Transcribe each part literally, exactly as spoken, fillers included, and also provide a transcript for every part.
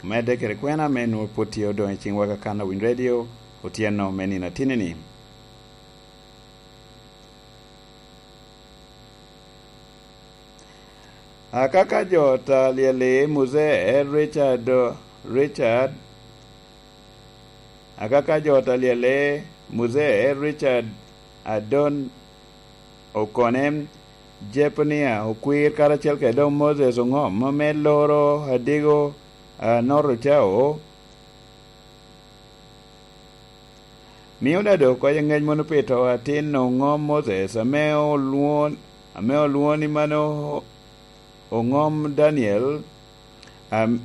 Medde kede kwena me nwoŋo pwod tye odoŋ i ciŋwa ka kan Awiny Radio otyeno me nino atinni-ni. Akaka jo ta lyeli Muzee Richard, Richard, akaka jo ta lyeli Muzee Richard Adon Okone, Jepnia Okwir, karacel kede doŋ Moses Oŋom me loro Adigo, a, North Ocao, mio dado oko i ŋec mono pi to atin Oŋom Moses, ame olwoŋo, ame olwoŋo ni mano Oŋom Daniel, am-,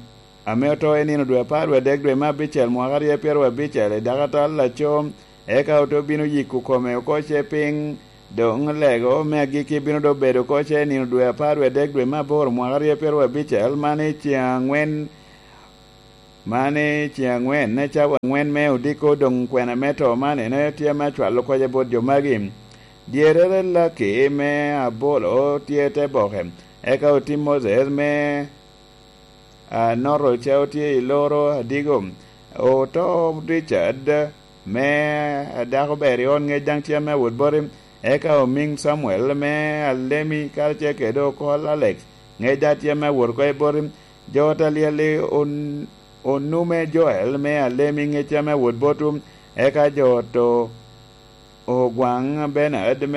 ame oto i nino dwe apar wie adek dwe me abicel mwaka aryo pyeraryo abicel i dakatal laco, eka ote obino yiko kome oko ce piny, doŋ lego me agikki bino doŋ bedo oko ce i nino dwe apar wie adek dwe me aboro mwaka aryo pyeraryo abicel, man i ceŋ aŋwen, man i ceŋ aŋwen, cawa aŋwen me odiko doŋ kwena me to man en tye me acwalo kocce bot jo magi. Dyerere Laki me Abolo tye te boke, eka oti Moses me a North Ocao tye i loro Adigo. Oto Richard me a dako ber i ot ŋec daŋ tye ame awot boti, eka Omiŋ Samuel me Alemi karacel kede Okol Alex ŋec daŋ tye ame awot oko i boti. Jo ta lyel-li On-, Onume Joel me Alemi ŋec tye ame awot botwu, eka jo to Ogwaŋ Bernard me